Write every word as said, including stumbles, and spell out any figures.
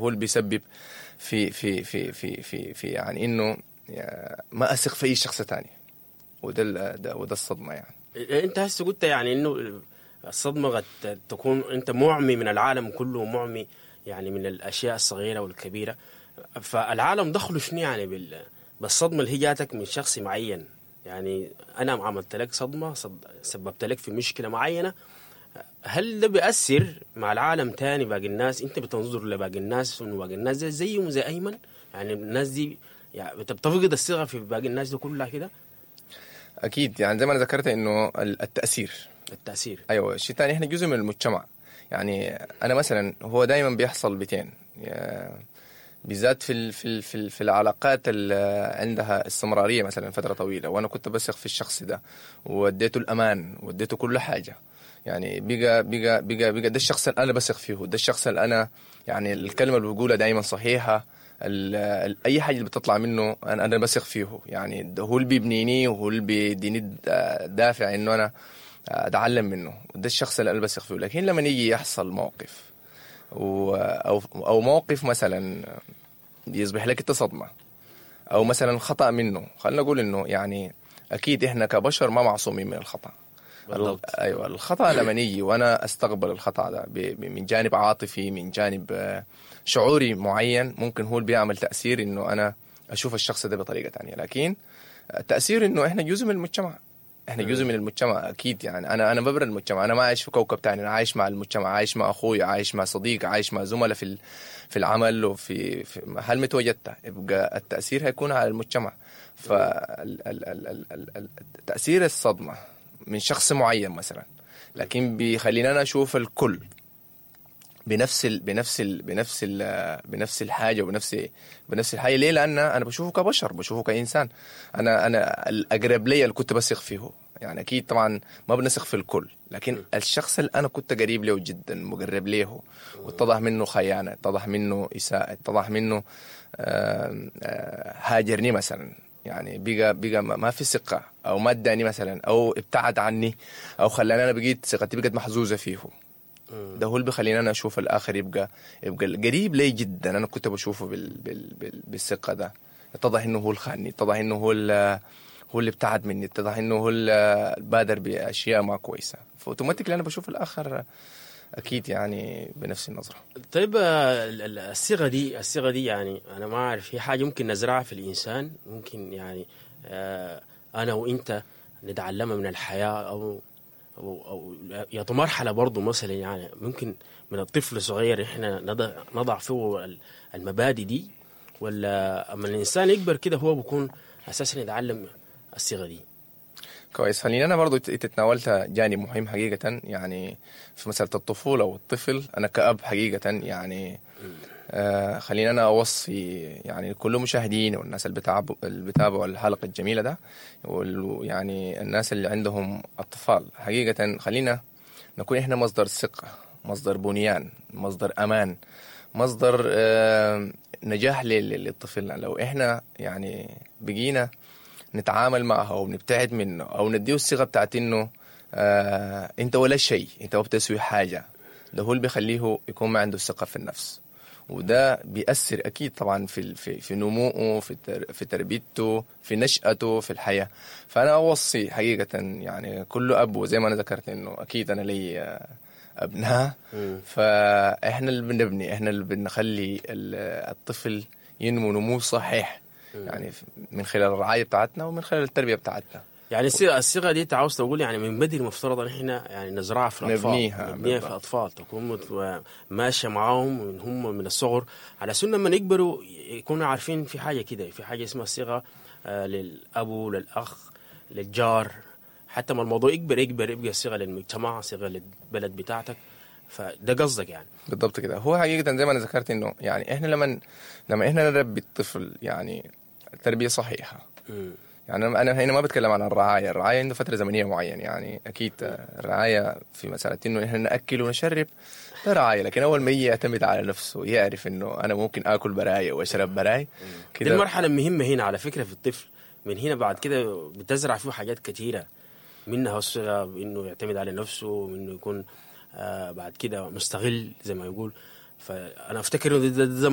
هو اللي بيسبب في في في في في, في يعني انه ما اثق في اي شخص ثاني، وده ده وده الصدمة يعني. انت هسه قلت يعني انه الصدمة قد تكون انت معمي من العالم كله، معمي يعني من الاشياء الصغيرة والكبيرة. فالعالم دخله شنو يعني بال بالصدمة اللي هي جاتك من شخص معين؟ يعني انا عملت لك صدمة، صد... سببت لك في مشكلة معينة، هل ده بيأثر مع العالم تاني باقي الناس؟ انت بتنظر لباقي الناس انه باقي الناس زي زيهم زي ايمن؟ يعني الناس دي يعني بتفقد الثقة في باقي الناس دي كلها كده؟ اكيد، يعني زي ما انا ذكرت انه التاثير التاثير ايوه. الشيء الثاني احنا جزء من المجتمع. يعني انا مثلا هو دائما بيحصل بتين، بالذات في ال في ال في, في العلاقات اللي عندها استمرارية مثلا فترة طويلة، وانا كنت بثق في الشخص ده واديته الامان واديته كل حاجة، يعني بقى بقى بقى بقى ده الشخص اللي انا بثق فيه، ده الشخص اللي انا يعني الكلمة اللي بقولها دائما صحيحه، ال ال اي حاجة اللي بتطلع منه انا انا بثق فيه، يعني ده هو اللي بيبنيني وهو اللي بيديني دافع انه انا اتعلم منه، وده الشخص اللي انا بثق فيه. لكن لما يجي يحصل موقف و او او موقف مثلا يصبح لك انت صدمة، او مثلا خطا منه، خلينا نقول انه يعني اكيد احنا كبشر ما معصومين من الخطا. بالضبط. ايوه، الخطا لما يجي وانا استقبل الخطا ده من جانب عاطفي، من جانب شعوري معين، ممكن هو اللي بيعمل تاثير انه انا اشوف الشخص ده بطريقة ثانية. لكن التاثير انه احنا جزء من المجتمع، احنا جزء من المجتمع اكيد. يعني انا انا ببرا المجتمع، انا ما عايش في كوكب ثاني، انا عايش مع المجتمع، عايش مع اخوي، عايش مع صديق، عايش مع زملاء في في العمل وفي في محل ما تواجدت، يبقى التاثير هيكون على المجتمع. فتاثير الصدمة من شخص معين مثلا، لكن بيخلينا انا اشوف الكل بنفس ال بنفس ال بنفس ال بنفس الحاجة وبنفس بنفس الحاجة. ليه؟ لان انا بشوفه كبشر، بشوفه كانسان، انا انا الاقرب لي اللي كنت بثق فيه. يعني اكيد طبعا ما بنثق في الكل، لكن الشخص اللي انا كنت قريب له جدا، مقرب له، واتضح منه خيانة، اتضح منه اساءه، اتضح منه آه، آه، هاجرني مثلا، يعني بقى بقى ما في ثقة، او ما اداني مثلا، او ابتعد عني، او خلاني انا بقيت ثقتي بقت مهزوزة فيه. ده هو اللي بيخليني انا اشوف الاخر يبقى يبقى القريب لي جدا، انا كنت بشوفه بال بال بال بالثقة ده، اتضح انه هو الخاني، اتضح انه هو هو اللي ابتعد مني، اتضح انه هو اللي بادر باشياء ما كويسة، ف automatically انا بشوف الاخر اكيد يعني بنفس النظرة. طيب الصيغة دي الصيغة دي يعني انا ما اعرف، هي حاجة ممكن نزرعها في الانسان، ممكن يعني آه انا وانت نتعلمها من الحياة، او او او يا مرحلة برضه مثلا، يعني ممكن من الطفل الصغير احنا نضع نضع فيه المبادئ دي، ولا اما الانسان يكبر كده هو بيكون اساسا يتعلم الصيغة دي؟ كويس، خليني انا برضو تتناولت جانب مهم حقيقة، يعني في مسالة الطفولة والطفل. انا كأب حقيقة يعني آه خليني انا اوصي يعني كل المشاهدين والناس اللي بتابعوا اللي بتابعوا الحلقة الجميلة ده، ويعني الناس اللي عندهم اطفال، حقيقة خلينا نكون احنا مصدر ثقة، مصدر بنيان، مصدر امان، مصدر آه نجاح للطفل. لو احنا يعني بقينا نتعامل معه او نبتعد منه او نديه الثقة بتاعت انه آه انت ولا شيء، انت ما بتسوي حاجة، ده هو اللي بيخليه يكون ما عنده الثقة في النفس، وده بيأثر اكيد طبعا في في في نموه، في في تربيته، في نشأته في الحياة. فانا اوصي حقيقة يعني كل اب، وزي ما انا ذكرت انه اكيد انا لي ابناء، فاحنا اللي بنبني، احنا اللي بنخلي الطفل ينمو نمو صحيح، يعني من خلال الرعاية بتاعتنا ومن خلال التربية بتاعتنا. يعني الصيغة دي انت عاوز تقول يعني من بدري المفترض ان احنا يعني نزرعها في الاطفال، نبنيها نبنيها في الاطفال، تكون ماشية معاهم من هم من الصغر، على سنة لما يكبروا يكونوا عارفين في حاجة كده، في حاجة اسمها الصيغة آه للاب، للاخ، للجار، حتى ما الموضوع يكبر يكبر يبقى صيغة للمجتمع، صيغة للبلد بتاعتك. فده قصدك يعني؟ بالضبط كده. هو حقيقة زي ما انا ذكرت انه يعني احنا لما لما احنا نربي الطفل يعني تربيه صحيحه، م. يعني انا هنا ما بتكلم عن الرعاية، الرعاية عنده فترة زمنية معينة، يعني اكيد الرعاية في مسالة انه احنا ناكل ونشرب ده رعاية، لكن اول ما يجي يعتمد على نفسه، يعرف انه انا ممكن اكل براي واشرب براي كده. دي المرحلة المهمة هنا على فكرة في الطفل، من هنا بعد كده بتزرع فيه حاجات كثيرة، منها الصغه انه يعتمد على نفسه، وانه يكون آه بعد كده مستغل زي ما يقول. فانا افتكر انه ده, ده